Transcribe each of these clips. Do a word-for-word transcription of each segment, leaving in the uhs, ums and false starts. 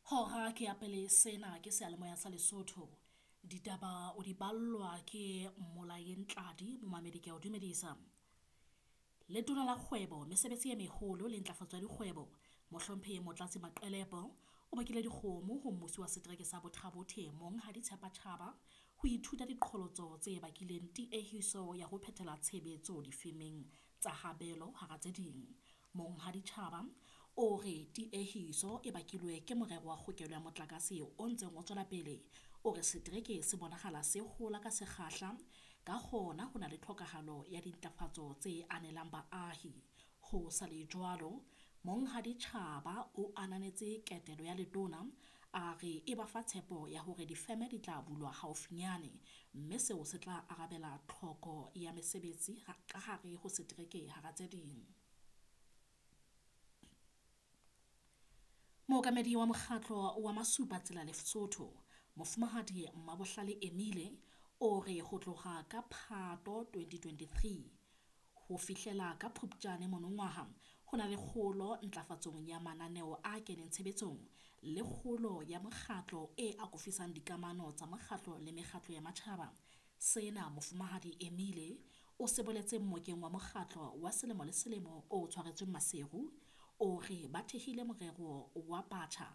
Hora ke ya pele, sena ke seyalemoya sa Lesotho. Ditaba o di ballwa ke Molaeng Tladi, momamedi ke a o dumedisa. Letona la Kgwebo, Mesebetsi e Meholo le Ntlafatso ya Dikgwebo, Mohlomphehi Motlatsi Maqelepo o bakile dikgomo ho mmusi wa setereke sa Botha-Bothe Monghadi Tshepa Tjhaba ho ithuta diqholotso tse bakileng tiehiso ya ho phethela tshebetso difemeng tsa habelo hara tse ding. Monghadi Tjhaba o re tiehiso e bakilwe ke morero wa kgokelo ya motlakase o ntseng o tswela pele. O re setereke se bonahala se hola ka sekgahla, ka hona ho na le tlhokahalo ya dintlafatso tse anelang baahi. Ho sa le jwalo, Monghadi Tjhaba o ananetse ketelo ya letona, a re e ba fa tshepo ya hore difeme di tla bulwa haufinyane, mme seo se tla arabela tlhoko ya mesebetsi ka hare ho setereke hara tse ding. Mookamedi wa mokgatlo wa Masupatsela Lesotho, Mofumahadi Mmabohlale Emile, o re ho tloha ka Phato twenty twenty-three ho fihlela ka Phupjane monongwaha, ho na le kgolo ntlafatsong ya mananeo a keneng tshebetsong le kgolo ya mokgatlo e akofisang dikamano tsa mokgatlo le mekgatlo ya matjhaba. Sena Mofumahadi Emile o se boletse mmokeng wa mokgatlo wa selemo le selemo o tshwaretsweng Maseru. O re ba thehile morero wa batjha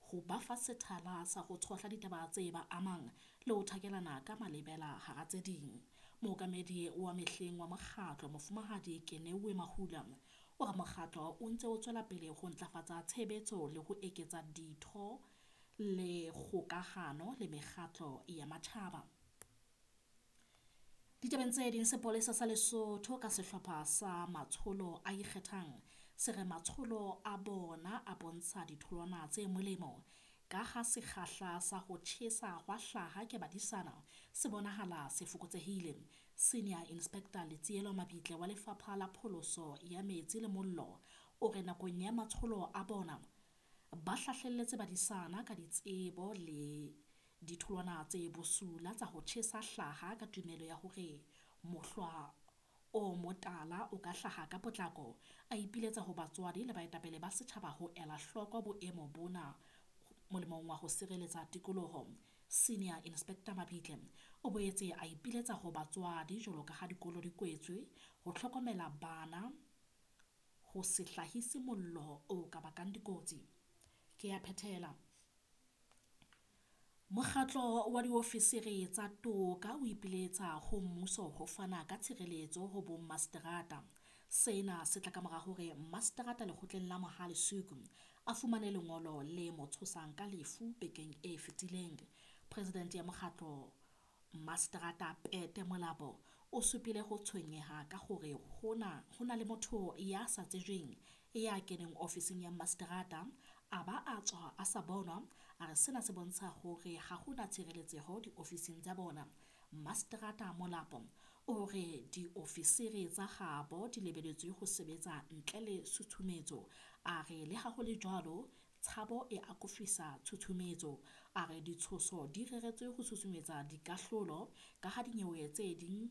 ho ba fa sethala sa ho tshohla ditaba tse ba amang le ho thakelana ka malebela hara tse ding. Mookamedi wa mehleng wa mokgatlo Mofumahadi Kenewe Mahula o re mokgatlo o ntse o tswela pele ho ntlafatsa tshebetso le ho eketsa ditho le kgokahano le mekgatlo ya matjhaba. Ditabeng tse ding, sepolesa sa Lesotho ka sehlopha sa matsholo a ikgethang se re matsholo a bona a bontsha ditholwana tse molemo ka ha sekgahla sa ho tjhesa hwa hlaha ke badisana se bonahala se fokotsehile. Senior Inspector Letsielo Mabitle wa Lefapha la Pholoso ya Metsi le Mollo o re nakong ya matsholo a bona ba hlahlelletse badisana ka ditsebo le ditholwana tse bosula tsa ho tjhesa hlaha ka tumelo ya hore mohlwa o motala o ka hlaha ka potlako. A ipiletsa ho batswadi le baetapele ba setjhaba ho ela hloko boemo bona molemong wa ho sireletsa tikoloho. Senior Inspector Mabitle o boetse a ipiletsa ho batswadi jwalo ka ha dikolo di kwetswe ho hlokomela bana ho se hlahise mollo o ka bakang dikotsi. Ke ya phethela. Mokgatlo wa diofisiri tsa toka o ipiletsa ho mmuso ho fana ka tshireletso ho bommaseterata. Sena se tla ka mora hore mmaseterata lekgotleng la Mohale Suku a fumane lengolo le mo tshosang ka lefu bekeng e fetileng. President ya mokgatlo Mmaseterata Pete Molapo o supile ho tshwenyeha ka hore hona ho na le motho ya sa tsejweng ya keneng ofising ya mmaseterata a ba a tswa a sa bonwa. A re sena se bontsha hore ha hona tshireletseho diofising tsa bona. Mmaseterata Molapo o re diofisiri tsa habo di lebeletswe ho sebetsa ntle le tshutshumetso. A re le ha ho le jwalo, tshabo e akofisa tshutshumetso. A re ditshoso di reretswe ho susumetsa dikahlolo ka ha dinyewe tse ding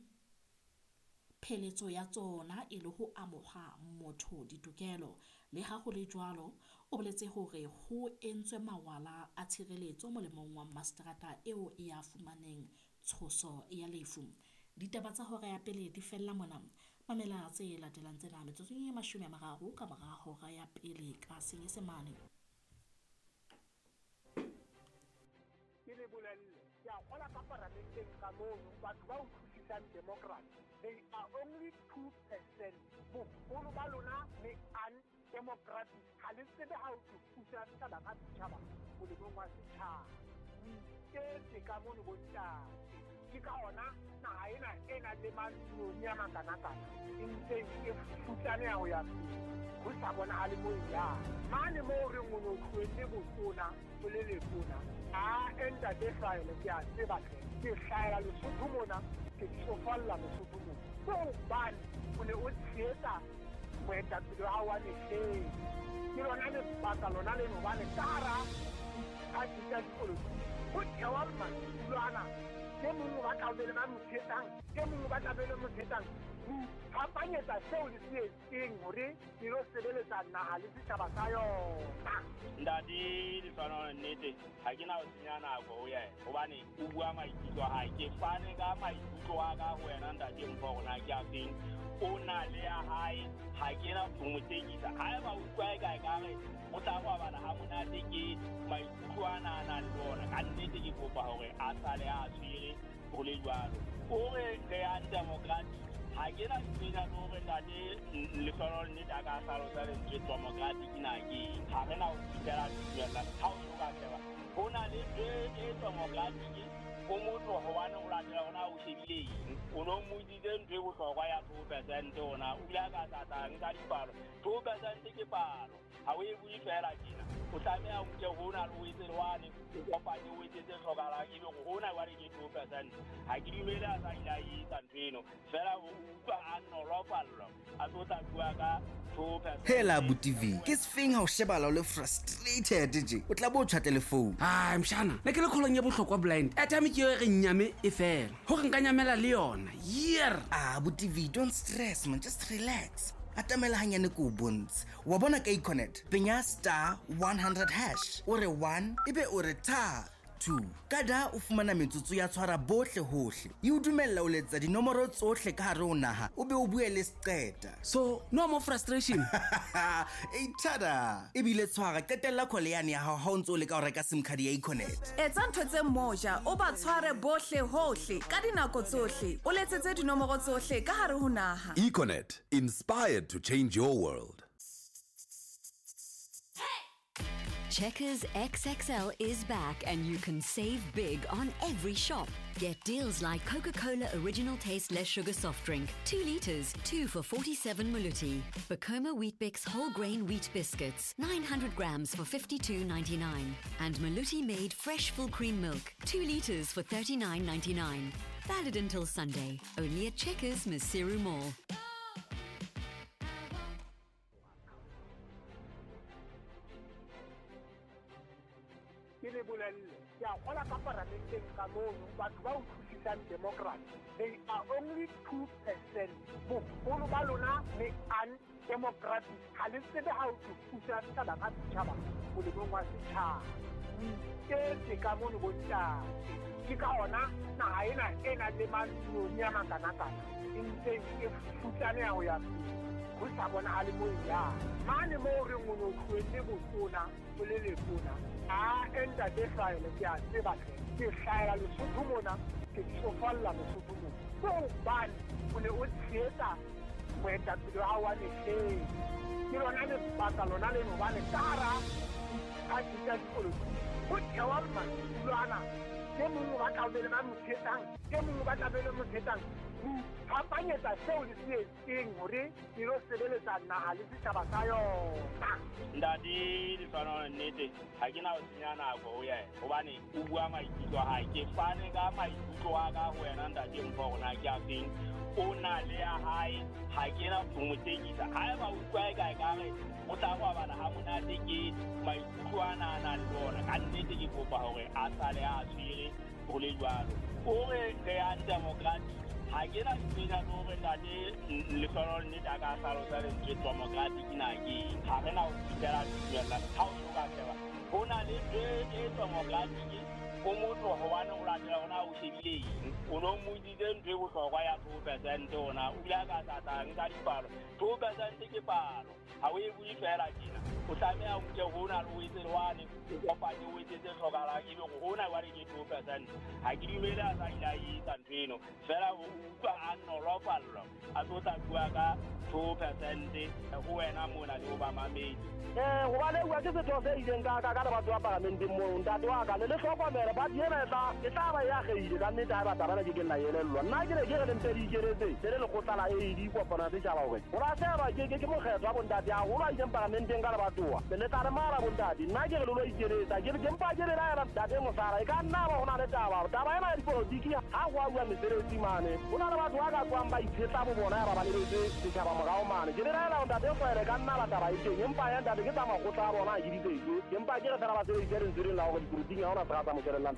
pheletso ya tsona e le ho amoha motho ditokelo. Le ha ho le jwalo, o boletse hore ho entswe mawala a tshireletso molemong wa mmaseterata eo ya fumaneng tshoso ya lefu. Ditaba tsa hora ya pele di fella mona. Mamela tse latelang tsena metsotsong e mashome a mararo ka mora hora ya pele ka Senyesemane. Ke le bolelle, ke a kgola ka paramenteng ka mono, batho ba utlwisisang democracy, they are only two percent. Boholo ba lona le undemocratic. Ha le tsebe ha ho thusa setjhaba ka setjhaba molemong wa setjhaba. O iketse ka mono bontate. Ke ka hona naha ena e nang le matlong a makanakana e ntse e futsaneha ho ya pele. Ho sa bonahale moo e yang. Mane moo re reng o no tlohelle botona o le letona. A ntate hlahele ke a tseba hle. Ke hlahela Lesotho mona, ke tsofalla Lesotho mona. Ke hobane o ne o tshehetsa moetapele wa hao wa mehleng. Ke lona lebaka lona leno hobane ka hara diphathi tsa dipolotiki ho thewa madulo ana. E mong o batla ho be le ba mo tshehetsang, e mong o batla be le mo tshehetsang. Iphapanyetsa seo le se etseng hore e lo sebeletsa naha le setjhaba sa yona. Ntate Lehlohonolo nnete ha ke na ho senya nako ho yena hobane o bua maikutlo a hae. Ke fane ka maikutlo a ka ho wena ntate Mpho hore na ke a feng. O na le ya hae, ha ke na ho mo tekisa. Haeba o utlwa eka ekare o tla robala ha monate ke maikutlo ana a nang le ona, ka nnete ke kopa hore a sale a tshwere ho le jwalo. O re re yang democratic, ha ke na ntho le hore ntate Lehlohonolo nnete a ka hlalosa lentswe democratic na ke eng. Ha re na ho fihlela tumellano. Ha o so ka sheba, ho na le ntho e democratic ho motho hobane o latela hore na o shebile eng. O no mmotsitse ntho e bohlokwa ya two percent hona, o bile a ka tla nka dipalo. Two percent ke palo, ha o e bue feela tjena. O tlameha o nke hona le o etse le wane, o kopanye o etse tse hlokahalang, ebe hore hona jwale ke two percent. Ha ke dumele a sa ile a etsa ntho eno, feela o utlwa a nolofallwa, a tlo tla bua ka two percent. Hela abuti V, ke sefeng ha o shebala o le frustrated tje? O tla bo o tjhatle le phone. Ai mshana, ne ke le kgolong ya bohlokwa blind. Airtime ke eo e re nyame e fela. Hore nka nyamela le yona. Year. Ah, abuti V, don't stress man, just relax. Atamela hanyane ko o bontshe. Wa bona ka Econet, penya star one hundred hash, o re one, ebe o re tha two. Ka da o fumana metsotso ya tshwara bohle hohle. E o dumella o letsa dinomoro tsohle ka hare ho naha, o be o bue le seqeta. So, no more frustration. E tada. Ebile tshwara, qetella call yane ya hao ha o ntso o leka ho reka SIM card ya Econet. Etsa ntho tse moja, o ba tshware bohle hohle ka dinako tsohle. O letsetse dinomoro tsohle ka hare ho naha. Econet, inspired to change your world. Checkers X X L is back and you can save big on every shop. Get deals like Coca-Cola Original Taste Less Sugar Soft Drink, two litres, two for forty-seven Maluti. Bacoma Weet-Bix Whole Grain Wheat Biscuits, nine hundred grams for fifty-two ninety-nine. And Maluti Made Fresh Full Cream Milk, two litres for thirty-nine ninety-nine. Valid until Sunday, only at Checkers Maseru Mall. Ke le bolelle, ke a kgola ka paramenteng ka mono, batho ba utlwisisang democracy, they are only two percent. Boholo ba lona le undemocratic, ha le tsebe ha o tlo pusa setjhaba ka setjhaba molemong wa setjhaba. O iketse ka mono bontate. Ke ka hona naha ena e nang le manoni a makanakana e ntseng e futsaneha ho ya pele, ho sa bonahale moo e yang. Mane moo re reng o no tlohelle botona, o le letona, a ntate Hlahele ke a tseba hle, ke hlahela Lesotho mona, ke tsofalla Lesotho mona. Ke hobane o ne o tshehetsa moetapele wa hao wa mehleng. Ke lona lebaka lona leno hobane ka hara diphathi tsa dipolotiki ho thewa madulo ana. E mong o batla ho be le ba mo tshehetsang, e mong o batla ho be le mo tshehetsang. Ho iphapanyetsa seo le se etseng hore le lo sebeletsa naha le setjhaba sa yona. Ntate Lehlohonolo nnete ha ke na ho senya nako ho yena hobane o bua maikutlo a hae. Ke fane ka maikutlo a ka ho wena ntate Mpho hore na ke a feng. O na le ya hae, ha ke na ho mo tekisa. Haeba o utlwa eka ekare o tla robala ha monate ke maikutlo ana a nang le ona, ka nnete ke kopa hore a sale a tshwere ho le jwalo. O re re yang democratic, ha ke na ntho le hore ntate Lehlohonolo nnete a ka hlalosa lentswe democratic na ke eng. Ha re na ho fihlela tumellano. Ha o so ka sheba, ho na le ntho e democratic ho motho hobane o latela hore na o shebile eng. O no mmotsitse ntho e bohlokwa ya two percent hona, o bile a ka tla nka dipalo. Two percent ke palo, ha o e bue feela tjena. O tlameha o nke hona le o etse le wane, o kopanye o etse tse hlokahalang, ebe hore hona jwale ke two percent. Ha ke dumele a sa ile a etsa ntho eno, feela o utlwa a nolofallwa, a tlo tla bua ka two percent ho wena mona le ho ba mamedi. Eh, hobane bua ke setho se ileng ka ka ka le batho ba paramenteng mono, ntate wa ka le le hlokomele party ena e tla e tla ba e akgehile ka nnete ha e batla bana ke ke nna elellwa. Nna ke ne ke re le mpe le ikeletse le le lekgotla la A D kopano ya setjhaba hore ho lahlehelwa ke ke ke mokgetho wa bontate haholo a ileng paramenteng ka lebatowa. Le tla re mara bontate, nna ke re le lo ikeletsa, ke ke mpa ke le laela ntate Mosala, e ka nna ba ho na le taba. Taba ena ya dipolotiki ha ho a bua mesebetsi mane, ho na le batho ba ka tswang ba itshetla bo bona ya ba ba lebetse setjhaba morao mane. Ke le laela ntate Hlwele ka nna ba taba e teng, empa ya ntate ke tsa makgotla a bona a ke ditsetse, empa ke re fela ba sebedise lentswe lena la hore dipolotiking ha hona se ka tsa mo kelellang.